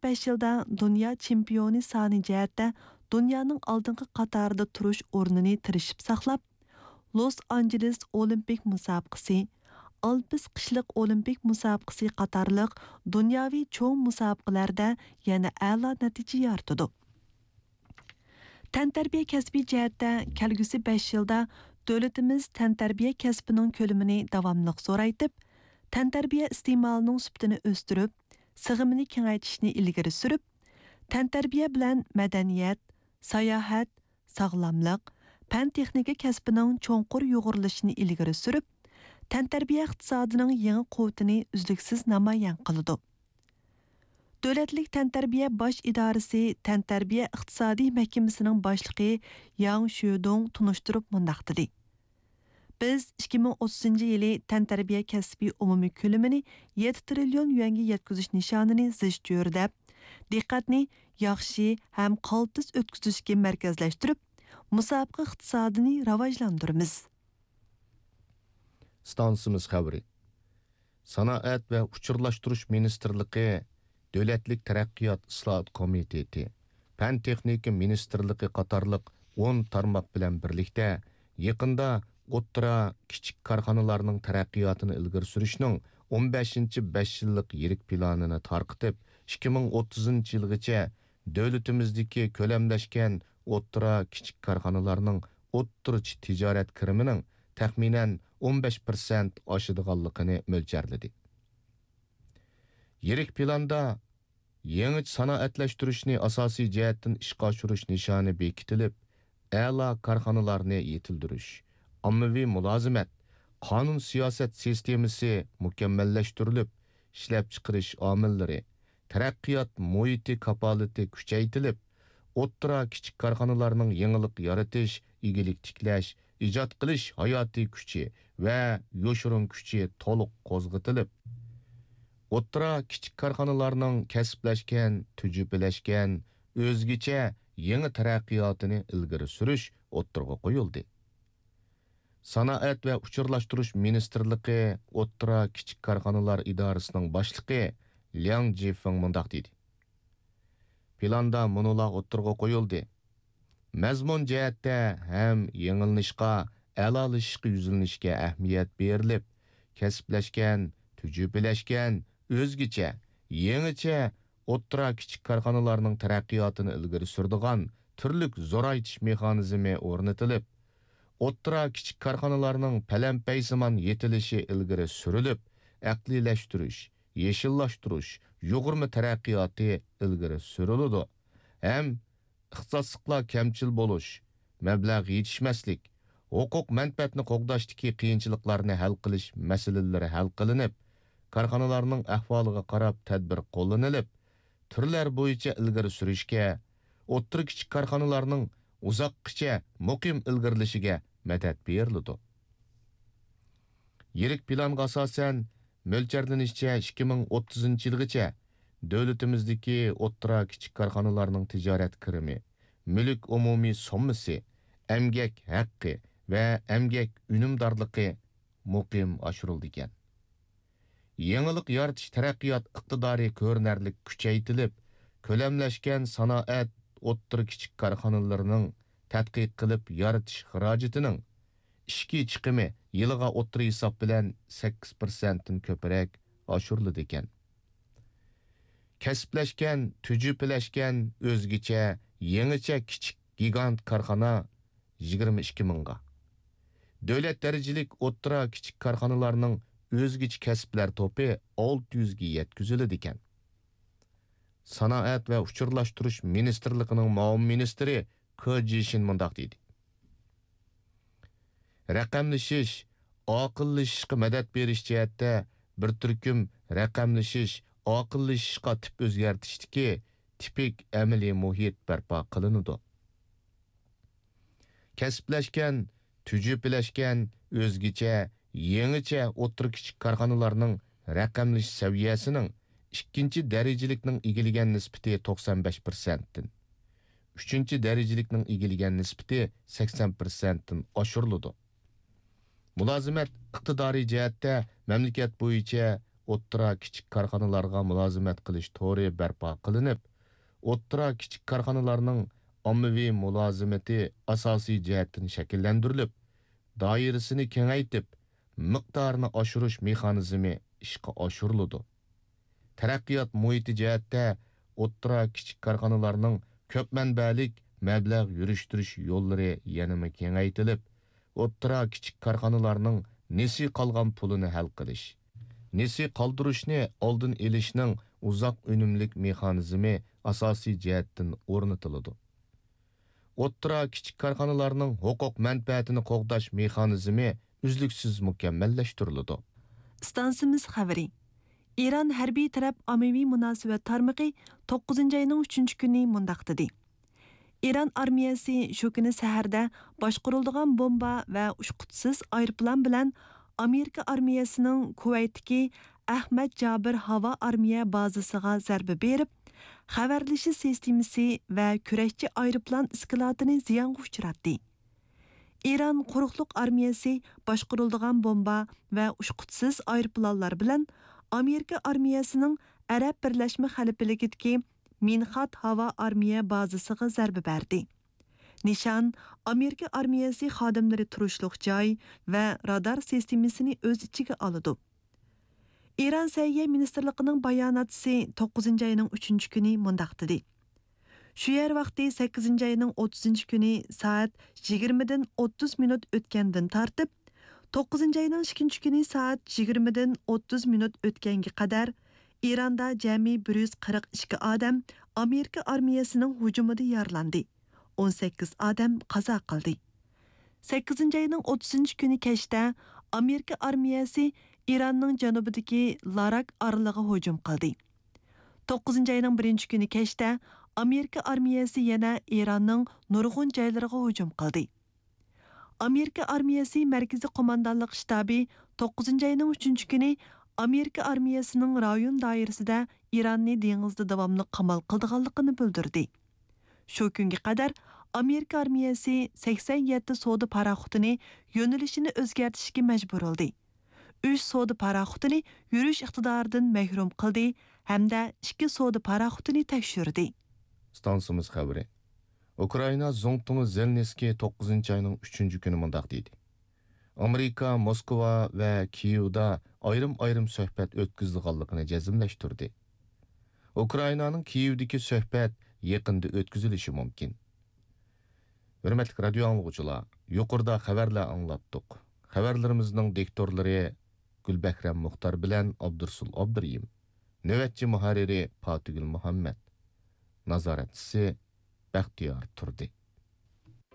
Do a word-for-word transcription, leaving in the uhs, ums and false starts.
بەش يىلدا دۇنيا چېمپىيونى سانى جەھەتتە دۇنيانىڭ ئالدىنقى قاتارىدا تۇرۇش ئورنىنى تىرىشىپ ساقلاپ، لوس ئانژېلېس ئولىمپىك مۇسابىقىسى، ئالپس قىشلىق ئولىمپىك مۇسابىقىسى قاتارلىق دۇنياۋى چوڭ مۇسابىقىلەردە يەنە ئەلا نەتىجە يارىتىدۇ. تەنتەربىيە كەسپى جەھەتتە كەلگۈسى بەش يىلدا دۆلىتىمىز تەنتەربىيە كەسپىنىڭ كۆلىمىنى داۋاملىق زورايتىپ، تەنتەربىيە ئىستېمالىنىڭ سۈپىتىنى ئۆستۈرۈپ، سىغىمىنى كېڭەيتىشنى ئىلگىرى سۈرۈپ، تەنتەربىيە بىلەن مەدەنىيەت، ساياھەت، ساغلاملىق، پەن-تېخنىكا كەسپىنىڭ چوڭقۇر يۇغۇرۇلۇشىنى ئىلگىرى سۈرۈپ، تەنتەربىيە ئىقتىسادىنىڭ يېڭى قۇۋۋىتىنى ئۈزلۈكسىز نامايان قىلىدۇ. دۆلەتلىك تەنتەربىيە باش ئىدارىسى تەنتەربىيە ئىقتىسادىي مەھكىمىسىنىڭ باشلىقى ياڭ شۆدۇڭ تونۇشتۇرۇپ مۇنداق دېدى: بىز ئىككى مىڭ ئوتتۇزىنچى يىلى تەنتەربىيە كەسپىي ئومۇمىي كۆلىمىنى يەتتە تىرىليون يۈەنگە يەتكۈزۈش نىشانىنى زىچ چۆرىدەپ، دىققەتنى ياخشى ھەم قالتىس ئۆتكۈزۈشكە مەركەزلەشتۈرۈپ، مۇسابىقە ئىقتىسادىنى راۋاجلاندۇرىمىز. ئىستانسىمىز خەۋىرى. سانائەت ۋە ئۇچۇرلاشتۇرۇش مىنىستىرلىقى، دۆلەتلىك تەرەققىيات ئىسلاھات كومىتېتى، پەن-تېخنىكا مىنىستىرلىقى قاتارلىق ئون تارماق بىلەن بىرلىكتە، يېقىندا ئوتتۇرا، كىچىك كارخانىلارنىڭ تەرەققىياتىنى ئىلگىرى سۈرۈشنىڭ ئون بەشىنچى بەش يىللىق يىرىك پىلانىنى تارقىتىپ، ئىككى مىڭ ئوتتۇزىنچى يىلغىچە دۆلىتىمىزدىكى كۆلەملەشكەن ئوتتۇرا، كىچىك كارخانىلارنىڭ ئوتتۇرىچە تىجارەت كىرىمىنىڭ تەخمىنەن ئون بەش پىرسەنت ئاشىدىغانلىقىنى مۆلچەرلىدى. يىرىك پىلاندا يېڭىچە سانائەتلەشتۈرۈشنى ئاساسىي جەھەتتىن ئىشقا ئاشۇرۇش نىشانى بېكىتىلىپ، ئەلا كارخانىلارنى يېتىلدۈرۈش، ئاممىۋى مۇلازىمەت، قانۇن سىياسەت سىستېمىسى مۇكەممەللەشتۈرۈلۈپ، ئىشلەپچىقىرىش ئامىللىرى، تەرەققىيات مۇھىتى كاپالىتى كۈچەيتىلىپ، ئوتتۇرا، كىچىك كارخانىلارنىڭ يېڭىلىق يارىتىش، ئىگىلىك تىكلەش، ئىجاد قىلىش ھاياتىي كۈچى ۋە يوشۇرۇن كۈچى تولۇق قوزغىتىلىپ، ئوتتۇرا، كىچىك كارخانىلارنىڭ كەسىپلەشكەن، تۈجۈپىلەشكەن، ئۆزگىچە يېڭى تەرەققىياتىنى ئىلگىرى سۈرۈش ئوتتۇرىغا قويۇلدى. سانائەت ۋە ئۇچۇرلاشتۇرۇش مىنىستىرلىقى ئوتتۇرا، كىچىك كارخانىلار ئىدارىسىنىڭ باشلىقى لياڭ جىفېڭ مۇنداق دېدى: پىلاندا مۇنۇلار ئوتتۇرىغا قويۇلدى. مەزمۇن جەھەتتە ھەم يېڭىلىنىشقا، ئەلالىشىشقا يۈزلىنىشكە ئەھمىيەت بېرىلىپ، كەسىپلەشكەن، تۈجۈپىلەشكەن، ئۆزگىچە، يېڭىچە ئوتتۇرا، كىچىك كارخانىلارنىڭ تەرەققىياتىنى ئىلگىرى سۈرىدىغان تۈرلۈك زورايتىش مېخانىزمى ئورنىتىلىپ، ئوتتۇرا، كىچىك كارخانىلارنىڭ پەلەمپەيسىمان يېتىلىشى ئىلگىرى سۈرۈلۈپ، ئەقلىيلەشتۈرۈش، يېشىللاشتۇرۇش، يۇغۇرما تەرەققىياتى ئىلگىرى سۈرۈلىدۇ ھەم ئىختىساسلىقلار كەمچىل بولۇش، مەبلەغ يېتىشمەسلىك، ھوقۇق مەنپەئەتنى قوغداشتىكى قىيىنچىلىقلارنى ھەل قىلىش مەسىلىلىرى ھەل قىلىنىپ، كارخانىلارنىڭ ئەھۋالىغا قاراپ تەدبىر قوللىنىلىپ، تۈرلەر بويىچە ئىلگىرى سۈرۈشكە، ئوتتۇرا، كىچىك كارخانىلارنىڭ ئۇزاققىچە مۇقىم ئىلگىرىلىشىگە مەدەت بېرىلىدۇ. يىرىك پىلانغا ئاساسەن، مۆلچەرلىنىشىچە، ئىككى مىڭ ئوتتۇزىنچى يىلغىچە دۆلىتىمىزدىكى ئوتتۇرا، كىچىك كارخانىلارنىڭ تىجارەت كىرىمى، مۈلۈك ئومۇمىي سوممىسى، ئەمگەك ھەققى ۋە ئەمگەك ئۈنۈمدارلىقى مۇقىم ئاشۇرۇلىدىكەن. يېڭىلىق يارىتىش تەرەققىيات ئىقتىدارى كۆرۈنەرلىك كۈچەيتىلىپ، كۆلەملەشكەن سانائەت ئوتتۇرا، كىچىك كارخانىلىرىنىڭ تەتقىق قىلىپ يارىتىش خىراجىتىنىڭ ئىچكى چىقىمى يىلىغا ئوتتۇرا ھېساب بىلەن سەككىز پىرسەنتتىن كۆپرەك ئاشۇرۇلىدىكەن. كەسىپلەشكەن، تۈجۈپىلەشكەن، ئۆزگىچە، يېڭىچە كىچىك گىگانت كارخانا يىگىرمە ئىككى مىڭغا، دۆلەت دەرىجىلىك ئوتتۇرا، كىچىك كارخانىلارنىڭ ئۆزگىچە كەسىپلەر توپى ئالتە يۈزگە يەتكۈزۈلىدىكەن. سانائەت ۋە ئۇچۇرلاشتۇرۇش مىنىستىرلىقىنىڭ مۇئاۋىن مىنىستىرى كې جىشىن مۇنداق دېدى: رەقەملىشىش، ئاقىللىشىشقا مەدەت بېرىش جەھەتتە بىر تۈركۈم رەقەملىشىش، ئاقىللىشىشقا تىپ ئۆزگەرتىشتىكى تىپىك ئەمەلىي مۇھىت بەرپا قىلىنىدۇ. كەسىپلەشكەن، تۈجۈپىلەشكەن، ئۆزگىچە، يېڭىچە ئوتتۇرا، كىچىك كارخانىلارنىڭ رەقەملىشىش سەۋىيەسىنىڭ ئىككىنچى دەرىجىلىكنىڭ ئىگىلىگەن نىسبىتى توقسان بەش پىرسەنتتىن، ئۈچىنچى دەرىجىلىكنىڭ ئىگىلىگەن نىسبىتى سەكسەن پىرسەنتتىن ئاشۇرۇلىدۇ. مۇلازىمەت ئىقتىدارى جەھەتتە مەملىكەت بويىچە ئوتتۇرا، كىچىك كارخانىلارغا مۇلازىمەت قىلىش تورى بەرپا قىلىنىپ، ئوتتۇرا، كىچىك كارخانىلارنىڭ ئاممىۋى مۇلازىمىتى ئاساسىي جەھەتتىن شەكىللەندۈرۈلۈپ، دائىرىسىنى كېڭەيتىپ، مىقدارىنى ئاشۇرۇش مېخانىزمى ئىشقا ئاشۇرۇلىدۇ. تەرەققىيات مۇھىتى جەھەتتە ئوتتۇرا، كىچىك كارخانىلارنىڭ كۆپ مەنبەلىك مەبلەغ يۈرۈشتۈرۈش يوللىرى يەنىمۇ كېڭەيتىلىپ، ئوتتۇرا، كىچىك كارخانىلارنىڭ نېسى قالغان پۇلىنى ھەل قىلىش، نېسى قالدۇرۇشنى ئالدىن ئېلىشنىڭ ئۇزاق ئۈنۈملۈك مېخانىزمى ئاساسىي جەھەتتىن ئورنىتىلىدۇ. ئوتتۇرا، كىچىك كارخانىلارنىڭ ھوقۇق مەنپەئەتىنى قوغداش مېخانىزمى ئۈزلۈكسىز مۇكەممەللەشتۈرۈلىدۇ. ئىستانسىمىز خەۋىرى. ئىران ھەربىي تەرەپ ئاممىۋى مۇناسىۋەت تارمىقى توققۇزىنچى ئاينىڭ ئۈچىنچى كۈنى مۇنداق دېدى: ئىران ئارمىيەسى شۇ كۈنى سەھەردە باشقۇرۇلىدىغان بومبا ۋە ئۇچقۇچىسىز ئايروپىلان بىلەن ئامېرىكا ئارمىيەسىنىڭ كۇۋەيتتىكى ئەخمەت جابىر ھاۋا ئارمىيە بازىسىغا زەربە بېرىپ، خەۋەرلىشىش سىستېمىسى ۋە كۈرەشچى ئايروپىلان ئىسكىلاتىنى زىيانغا ئۇچراتتى. ئىران قۇرۇقلۇق ئارمىيەسى باشقۇرۇلىدىغان بومبا ۋە ئۇچقۇچىسىز ئايروپىلانلار بىلەن ئامېرىكا ئارمىيەسىنىڭ ئەرەب بىرلەشمە خەلىپىلىكىدىكى مىنخات ھاۋا ئارمىيە بازىسىغا زەربە بەردى. نىشان ئامېرىكا ئارمىيەسى خادىملىرى تۇرۇشلۇق جاي ۋە رادار سىستېمىسىنى ئۆز ئىچىگە ئالىدۇ. ئىران سەھىيە مىنىستىرلىقىنىڭ باياناتچىسى توققۇزىنچى ئاينىڭ ئۈچىنچى كۈنى مۇنداق دېدى: شۇ يەر ۋاقتى سەككىزىنچى ئاينىڭ ئوتتۇزىنچى كۈنى سائەت يىگىرمىدىن ئوتتۇز مىنۇت ئۆتكەندىن تارتىپ، توققۇزىنچى ئاينىڭ ئىككىنچى كۈنى سائەت يىگىرمىدىن ئوتتۇز مىنۇت ئۆتكەنگە قەدەر ئىراندا جەمئىي بىر يۈز قىرىق ئىككى ئادەم ئامېرىكا ئارمىيەسىنىڭ ھۇجۇمىدا يارىلاندى، ئون سەككىز ئادەم قازا قىلدى. سەككىزىنچى ئاينىڭ ئوتتۇزىنچى كۈنى كەچتە ئامېرىكا ئارمىيەسى ئىراننىڭ جەنۇبىدىكى لاراك ئارىلىغا ھۇجۇم قىلدى. توققۇزىنچى ئاينىڭ بىرىنچى كۈنى كەچتە ئامېرىكا ئارمىيەسى يەنە ئىراننىڭ نۇرغۇن جايلىرىغا ھۇجۇم قىلدى. ئامېرىكا ئارمىيەسى مەركىزىي قوماندانلىق شتابى توققۇزىنچى ئاينىڭ ئۈچىنچى كۈنى ئامېرىكا ئارمىيەسىنىڭ رايون دائىرىسىدە ئىراننى دېڭىزدا داۋاملىق قامال قىلىدىغانلىقىنى بىلدۈردى. شۇ كۈنگە قەدەر ئامېرىكا ئارمىيەسى سەكسەن يەتتە سودا پاراخوتىنى يۆنىلىشىنى ئۆزگەرتىشكە مەجبۇر بولدى. ئۈچ سودا پاراخوتىنى يۈرۈش ئىقتىدارىدىن مەھرۇم قىلدى ھەمدە ئىككى سودا پاراخوتىنى تەكشۈردى. ئىستانسىمىز خەۋىرى. ئۇكرائىنا زۇڭتۇڭى زېلېنسكىي توققۇزىنچى ئاينىڭ ئۈچىنچى كۈنى مۇنداق دېدى: ئامېرىكا موسكۋا ۋە كىيېۋدا ئايرىم-ئايرىم سۆھبەت ئۆتكۈزىدىغانلىقىنى جەزملەشتۈردى. ئۇكرائىنانىڭ كىيېۋدىكى سۆھبەت يېقىندا ئۆتكۈزۈلۈشى مۇمكىن. ھۆرمەتلىك رادىيو ئاڭلىغۇچىلار، يۇقىرىدا خەۋەرلەر ئاڭلاتتۇق. خەۋەرلىرىمىزنىڭ دىكتورلىرى گۈلبەھرەم مۇختار بىلەن ئابدۇرسۇل ئابدۇرېھىم. نۆۋەتچى مۇھەررىرى پاتىگۈل مۇھەممەت. نازارەتچىسى بەختىيار تۇردى.